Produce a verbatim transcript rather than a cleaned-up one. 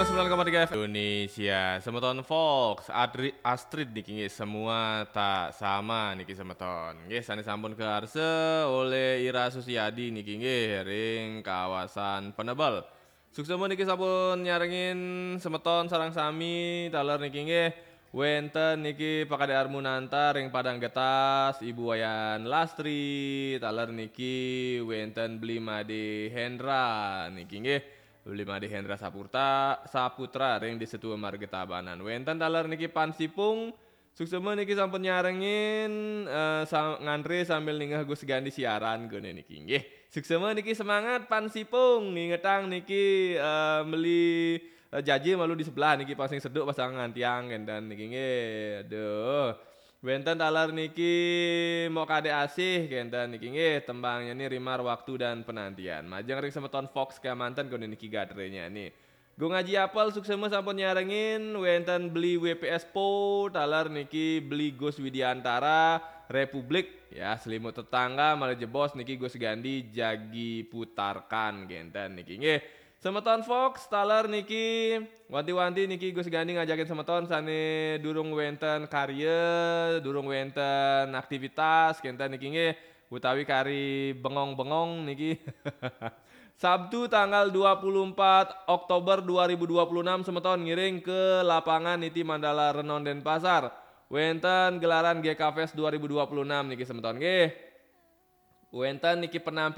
sembilan koma tiga F M Indonesia, semeton Fox, Adri, Astrid niki nggih, semua tak sama niki semeton. Nggih, sane sampun kearse oleh Ira Susiadi niki nggih, ring kawasan Penebel. Suksema niki sampun nyarengin semeton sareng sami, taler niki nggih. Wenten niki Pakade Armunanta ring Padang Getas, Ibu Wayan Lastri, taler niki wenten Bli Made Hendra niki nggih. Bli Made Hendra Saputra, Saputra ring Desa Tua Marga Tabanan. Wenten taler niki Pan Sipung, suksema niki sampun nyarengin, eh, sa-, ngantre sambil ningeh Gus Gandi siaran gone niki nggih. Suksema niki semangat Pan Sipung, ngingetang niki, eh, meli, eh, jaje malu di sebelah niki pang sing seduk pasangan tiang kenten niki nggih. Aduh. Wenten taler niki Mok Kadek Asih kenten niki nggih, tembangnya ni Rimar Waktu dan Penantian. Majeng ring semeton Fox kemanten gone niki gatrenya ni. Gung Aji Apel suksema sampun nyarengin, wenten Beli W P S Po, taler niki Beli Gus Widiantara, Republik, ya, Selimut Tetangga, malih jebos niki Gus Gandi jagi putarkan kenten niki nggih. Semeton Fox, taler niki wanti-wanti niki Gus Gandi ngajakin semeton sane durung wenten karya, durung wenten aktivitas kenten niki nggih, utawi kari bengong-bengong niki. Sabtu tanggal dua puluh empat Oktober dua ribu dua puluh enam, semeton ngiring ke lapangan Niti Mandala Renon Denpasar. Wenten gelaran G K Fest dua ribu dua puluh enam niki semeton nggih. Wenten niki penampilan